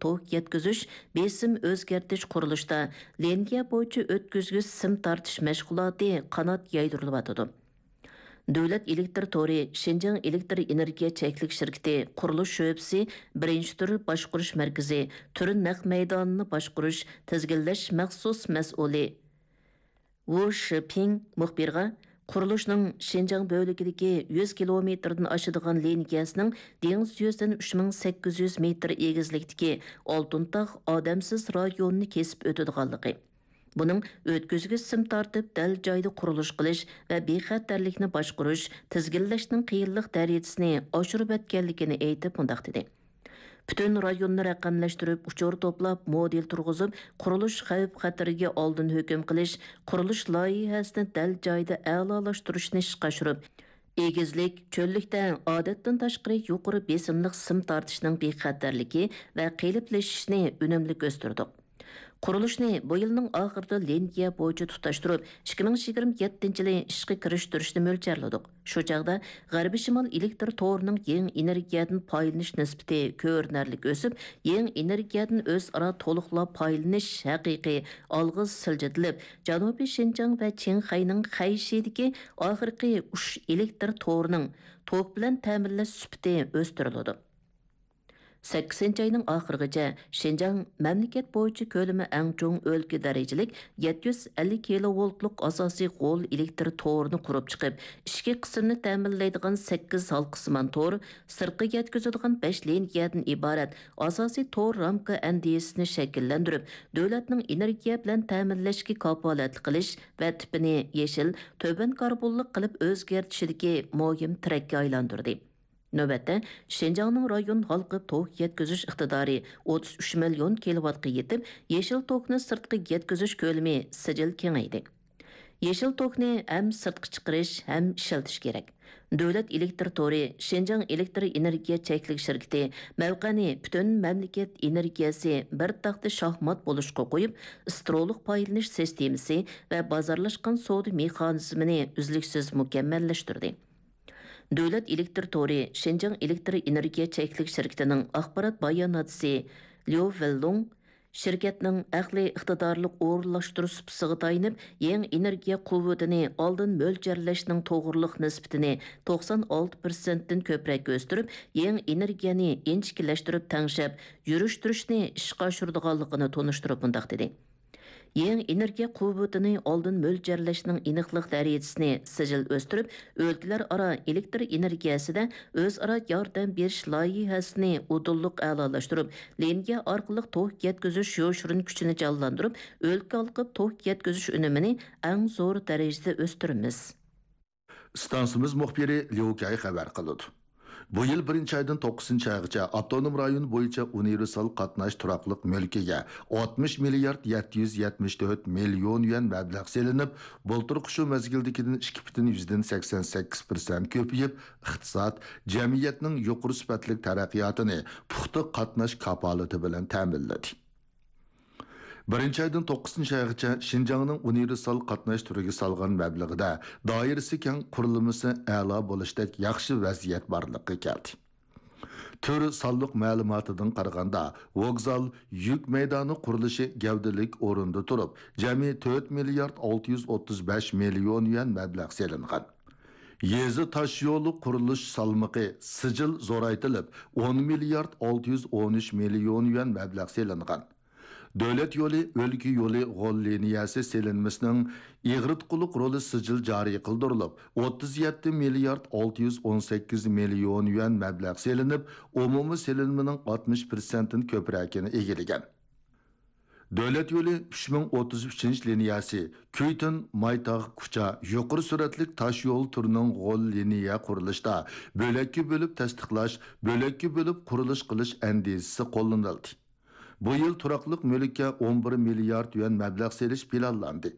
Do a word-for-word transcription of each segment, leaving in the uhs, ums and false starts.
توك يەتكۈزۈش، بېسىم ئۆزگەرتىش قۇرۇلۇشتا لىنىيە بويىچە ئۆتكۈزگۈچ سىم تارتىش مەشغۇلاتى قانات يايدۇرۇلۇۋاتىدۇ. دۆلەت ئېلېكتىر تورى شىنجاڭ ئېلېكتىر ئېنېرگىيە چەكلىك شىركىتى قۇرۇلۇش شۆبىسى بىرىنچى تۈر باشقۇرۇش مەركىزى تۈر نەق مەيدانىنى باشقۇرۇش، تىزگىنلەش مەخسۇس مەسئۇلى ۋۇ شىپىڭ مۇخبىرغا، قۇرۇلۇشنىڭ شىنجاڭ بۆلىكىدىكى يۈز كىلومېتىردىن ئاشىدىغان لىنىيەسىنىڭ دېڭىز يۈزىدىن ئۈچ مىڭ سەككىز يۈز مېتىر ئېگىزلىكتىكى ئالتۇن تاغ ئادەمسىز رايونىنى كېسىپ ئۆتىدىغانلىقى، بۇنىڭ ئۆتكۈزگۈچ سىم تارتىپ دەل جايىدا قۇرۇلۇش قىلىش ۋە بىخەتەرلىكنى باشقۇرۇش، تىزگىنلەشنىڭ قىيىنلىق دەرىجىسىنى ئاشۇرۇۋەتكەنلىكىنى ئېيتىپ مۇنداق دېدى. پۈتۈن رايوننى رەقەملەشتۈرۈپ، ئۇچۇر توپلاپ، مودېل تۇرغۇزۇپ، قۇرۇلۇش خەۋپ-خەتىرىگە ئالدىن ھۆكۈم قىلىش، قۇرۇلۇش لايىھەسىنى دەل جايىدا ئەلالاشتۇرۇشنى ئىشقا ئاشۇرۇپ، ئېگىزلىك، چۆللۈكتە ئادەتتىن تاشقىرى يۇقىرى بېسىملىق سىم تارتىشنىڭ بىخەتەرلىكى ۋە قېلىپلىشىشىنى ئۈنۈملۈك ئۆستۈردۇق. قۇرۇلۇشنى بۇ يىلنىڭ ئاخىرىدا لىنىيە بويىچە تۇتاشتۇرۇپ، ئىككى مىڭ يىگىرمە يەتتىنچى يىلى ئىشقا كىرىشتۈرۈشنى مۆلچەرلىدۇق. شۇ چاغدا غەربىي شىمال ئېلېكتىر تورىنىڭ يېڭى ئېنېرگىيەدىن پايدىلىنىش نىسبىتى كۆرۈنەرلىك ئۆسۈپ، يېڭى ئېنېرگىيەدىن ئۆزئارا تولۇقلاپ پايدىلىنىش ھەقىقىي ئالغا سىلجىتىلىپ، جەنۇبىي شىنجاڭ ۋە چىڭخەينىڭ خەيشىدىكى ئاخىرقى ئۇچ ئېلېكتىر تورىنىڭ توك بىلەن تەمىنلەش سۈپىتى ئۆستۈرۈلىدۇ. سەككىزىنچى ئاينىڭ ئاخىرىغىچە شىنجاڭ مەملىكەت بويىچە كۆلىمى ئەڭ چوڭ ئۆلكە دەرىجىلىك يەتتە يۈز ئەللىك كىلوۋولتلۇق ئاساسىي غول ئېلېكتىر تورىنى قۇرۇپ چىقىپ، ئىچكى قىسىمنى تەمىنلەيدىغان سەككىز ھالقىسىمان تور، سىرتقا يەتكۈزىدىغان بەش لىنىيەدىن ئىبارەت ئاساسىي تور رامكا ئەندىزىسىنى شەكىللەندۈرۈپ، دۆلەتنىڭ ئېنېرگىيە بىلەن تەمىنلەشكە كاپالەتلىك قىلىش ۋە تىپىنى يېشىل، تۆۋەن كاربونلۇق قىلىپ ئۆزگەرتىشىدىكى مۇھىم تىرەككە ئايلاندۇردى. نۆۋەتتە، شىنجاڭنىڭ رايون ھالقىپ توك يەتكۈزۈش ئىقتىدارى ئوتتۇز ئۈچ مىليون كىلوۋاتقا يېتىپ، يېشىل توكنى سىرتقا يەتكۈزۈش كۆلىمى سىجىل كېڭەيدى. يېشىل توكنى ھەم سىرتقا چىقىرىش، ھەم ئىشلىتىش كېرەك. دۆلەت ئېلېكتىر تورى شىنجاڭ ئېلېكتىر ئېنېرگىيە چەكلىك شىركىتى مەۋقەنى پۈتۈن مەملىكەت ئېنېرگىيەسى بىر تاختا شاھمات بولۇشقا قويۇپ، سترولۇق پايدىلىنىش سىستېمىسى ۋە بازارلاشقان سودا مېخانىزمىنى ئۈزلۈكسىز مۇكەممەللەشتۈردى. دۆلەت ئېلېكتىر تورى شىنجاڭ ئېلېكتىر ئېنېرگىيە چەكلىك شىركىتىنىڭ ئاخبارات باياناتچىسى ليۇ ۋېنلۇڭ، شىركەتنىڭ ئەقلىي ئىقتىدارلىق ئورۇنلاشتۇرۇش سۇپىسىغا تايىنىپ، يېڭى ئېنېرگىيە قۇۋۋىتىنى ئالدىن مۆلچەرلەشنىڭ توغرىلىق نىسبىتىنى توقسان ئالتە پىرسەنتتىن كۆپرەك ئۆستۈرۈپ، يېڭى ئېنېرگىيەنى ئىنچىكىلەشتۈرۈپ تەڭشەپ يۈرۈشتۈرۈشنى ئىشقا ئاشۇرىدىغانلىقىنى تونۇشتۇرۇپ مۇنداق دېدى. يېڭى ئېنېرگىيە قۇۋۋىتىنى ئالدىن مۆلچەرلەشنىڭ ئېنىقلىق دەرىجىسىنى سىجىل ئۆستۈرۈپ، ئۆلكىلەر ئارا ئېلېكتىر ئېنېرگىيەسىدە ئۆزئارا ياردەم بېرىش لايىھەسىنى ئۇدۇللۇق ئەلالاشتۇرۇپ، لىنىيە ئارقىلىق توك يەتكۈزۈش يوشۇرۇن كۈچىنى جانلاندۇرۇپ، ئۆلكە ھالقىپ توك يەتكۈزۈش ئۈنۈمىنى ئەڭ زور دەرىجىدە ئۆستۈرىمىز. ئىستانسىمىز مۇخبىرى ليۇ كەي خەۋەر قىلىدۇ. بۇ يىل بىرىنچى ئايدىن توققۇزىنچى ئايغىچە ئاپتونوم رايون بويىچە ئۇنىۋېرسال قاتناش تۇراقلىق مۈلكىگە ئاتمىش مىليارد يەتتە يۈز يەتمىش تۆت مىليون يۈەن مەبلەغ سېلىنىپ، بۇلتۇرقى شۇ مەزگىلدىكىدىن ئىككى پۈتۈن يۈزدىن سەكسەن سەككىز پىرسەنت كۆپىيىپ، ئىقتىساد، جەمئىيەتنىڭ يۇقىرى سۈپەتلىك تەرەققىياتىنى پۇختا قاتناش كاپالىتى بىلەن تەمىنلىدى. بىرىنچى ئايدىن توققۇزىنچى ئايغىچە شىنجاڭنىڭ ئۇنىۋېرسال قاتناش تۈرىگە سالغان مەبلىغىدە دائىرىسى كەڭ، قۇرۇلمىسى ئەلا بولۇشتەك ياخشى ۋەزىيەت بارلىققا كەلدى. تۈر سانلىق مەلۇماتىدىن قارىغاندا، ۋوگزال، يۈك مەيدانى قۇرۇلۇشى گەۋدىلىك ئورۇندا تۇرۇپ، جەمئىي تۆت مىليارد ئالتە يۈز ئوتتۇز بەش مىليون يۈەن مەبلەغ سېلىنغان. يېزا تاشيولى قۇرۇلۇش سالمىقى سىجىل زورايتىلىپ، ئون مىليارد ئالتە يۈز ئون ئۈچ مىليون يۈەن مەبلەغ سېلىنغان. دۆلەت يولى، ئۆلكە يولى غول لىنىيەسى سېلىنمىسىنىڭ ئېغىرتقۇلۇق رولى سىجىل جارى قىلدۇرۇلۇپ، ئوتتۇز يەتتە مىليارد ئالتە يۈز ئون سەككىز مىليون يۈەن مەبلەغ سېلىنىپ، ئومۇمىي سېلىنمىنىڭ ئاتمىش پىرسەنتتىن كۆپرەكىنى ئىگىلىگەن. دۆلەت يولى ئۈچ مىڭ ئوتتۇز ئۈچىنچى لىنىيەسى، كۈيتۈن مايتاغ كۇچا يۇقىرى سۈرئەتلىك تاش يول تۈرىنىڭ غول لىنىيە قۇرۇلۇشتا بۆلەككە بۆلۈپ تەستىقلاش، بۆلەككە بۆلۈپ قۇرۇلۇش قىلىش ئەندىزىسى قوللىنىلدى. بۇ يىل تۇراقلىق مۈلۈككە ئون بىر مىليارد يۈەن مەبلەغ سېلىش پىلانلاندى.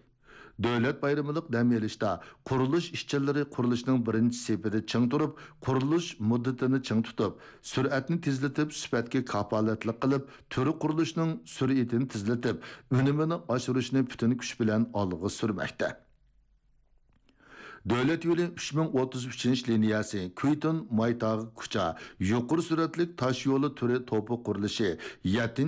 دۆلەت بايرىمىلىق دەم ئېلىشتا قۇرۇلۇش ئىشچىلىرى قۇرۇلۇشنىڭ بىرىنچى سېپىدە چىڭ تۇرۇپ، قۇرۇلۇش مۇددىتىنى چىڭ تۇتۇپ، سۈرئەتنى تېزلىتىپ، سۈپەتكە كاپالەتلىك قىلىپ، تۈر قۇرۇلۇشنىڭ سۈرئىتىنى تېزلىتىپ، ئۈنۈمىنى ئاشۇرۇشنى پۈتۈن كۈچ بىلەن ئالغا سۈرمەكتە. دۆلەت يولى ئۈچ مىڭ ئوتتۇز ئۈچىنچى لىنىيەسى، كۈيتۈن مايتاغ كۇچا يۇقىرى سۈرئەتلىك تاش يولى تۈرى توپى قۇرۇلۇشى يەتتىنچى